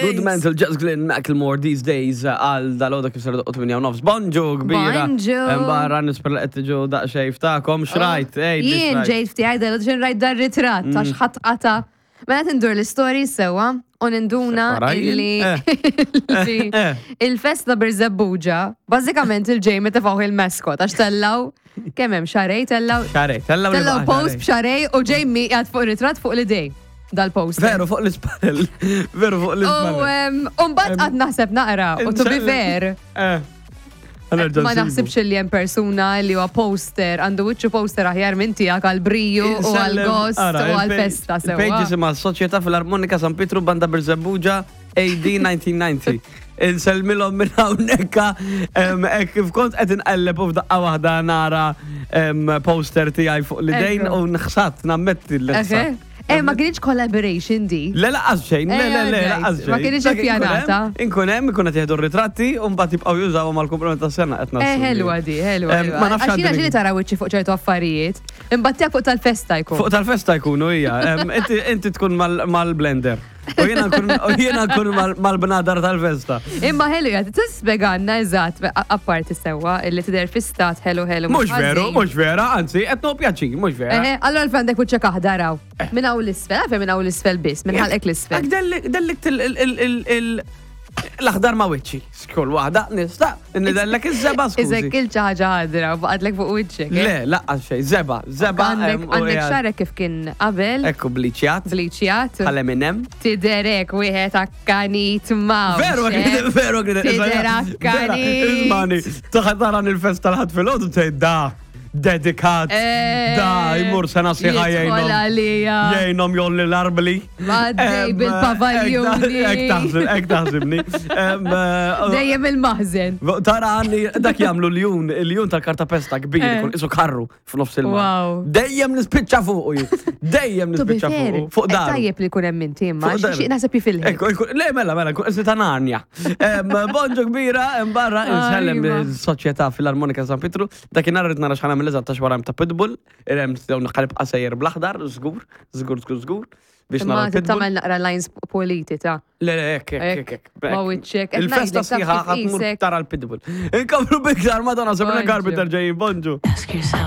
Good Mental, Just Glenn Macklemore these days għal dal-għoda kif ser doqqot minn nofs. Bonġu kbira. Bonġu. Barra nispera li qed tiġu daqsxejn ftakom xrajt. ej, li Jien xrajt. ġejt fti għajda l rajt dar ritratt għax ħadd qata. Mela tindur l-istorji sewa u ninduna Separajn? illi Eh. li Eh. il-festa Birżebbuġa, bażikament il-ġej meta tefgħu il-maskot għax tellaw kemm hemm xarej tellaw Xarej, tellaw li tellaw baqa' post xarej. b'xarej u Jamie qiegħed fuq ritratt fuq l-idej dal-post. Veru fuq l-ispallel. Veru fuq U l-ispallel. em, u mbagħad qatt naħseb naqra u to be Insellem. fair. Eh. Għanerġa' Ma nsibu. naħsibx li hemm persuna li huwa poster, għandu wiċċu poster aħjar minn tiegħek għal briju u għal Insellem, gost ara, u għal il-page- festa Il-page sewwa. jisimha Soċjetà Filarmonika San Pietru Banda Birżebbuġa AD 1990. Insellmilhom minn hawnhekk em, hekk kif kont qed inqelleb u f'daqqa waħda nara em, poster tiegħi fuq l-idejn Ekku. u nħsat nammetti Eħe. l-ħsat. Eh, ma kienx collaboration di. Le laqas xejn, le le le Eh, laqas alright. Ma xejn. kienx Dak inkun ippjanata. hemm, Inkun hemm, ikun qed jieħdu r-ritratti u mbagħad jibqgħu jużawhom għall-kumplament tas-sena qed Eh, nassumi. ħelwa di, ħelwa. Em, ħelwa. Ma nafx Għax jiena għandi ġieli tara wiċċi fuq ċertu affarijiet, imbagħad tiegħek fuq tal-festa jkun. Fuq tal-festa jkunu hija. Em, Inti inti tkun mal- mal-blender. U jiena nkun u jiena nkun mal- mal-bnadar tal-festa. Imma ħelu jgħid, tispjegalna eżatt, a- apparti sewwa, illi tidher fi stat ħelu ħelu. Mhux veru, ħażin. mhux vera, anzi, qed no pjaċir, mhux vera. Eħe, allora għalfejn għandek wiċċek aħdar hawn. Minn hawn l-isfel, għalfejn minn hawn l-isfel biss, minn ħalqek l-isfel. Ak dellik dellik til- il- il- il- il- l-aħdar ma' wiċċi. Skull waħda, nista' nidellek iż-żeba Iżek skużi. il ħaġa ħadra u baqgħetlek fuq wiċċek. eh? Le, laqqas xejn, żeba, żeba. Għandek em, u għandek qiegħed- xarek kif kien qabel, Ekku bliċjat, bliċjat, bħal Eminem. tiderek wieħed akkanit ma. Veru, veru, Tidher akkanit. Ismani, taħat taran il-festa l-ħat fil-ħodu tgħid da, dedikat, Eh, da, jmur sena sħiħa Jidħol jgħinom. għalija. Jgħinom jolli l-arbli. Għaddej Em, bil-pavaljuni. Ek taħsib, ek taħsibni. Em, eh, Dejjem il-maħżen. Tara għanni, dak jagħmlu l-jun, il-jun tal-kartapesta kbir, Eh. ikun isu karru f'nofs il Wow. Dejjem nispiċċa fuq ju. Dejjem To be nispiċċa fair, fuq. Fuq eh, daru. Tajjeb li kun hemm inti imma, Fuq daru. xi naħseb jifilħi. Ekku, ekku, le, mela, mela, kun ta' Narnia. Em, Bonġu kbira, em, barra, insellem Ajma. il-soċjetà Filarmonika San Pietru. Dakinhar rrid nara x'ħana mill-eżatt ta' xwara ta' Pitbull, irem dawn naqalib qasejjer bl-aħdar, żgur, żgur, żgur, żgur, biex Imma nara l-Pitbull. tagħmel naqra lines politi ta' Le, le, ek, ek, ek, ek. Ma wiċċek, qed Il-festa ngħidlek, taf sħiħa kif ħatmur qisek. tara l-Pitbull. Inkomplu biktar Madonna, Sabrina Bonġu. Carpenter ġejjin, bonġu. Ask yourself.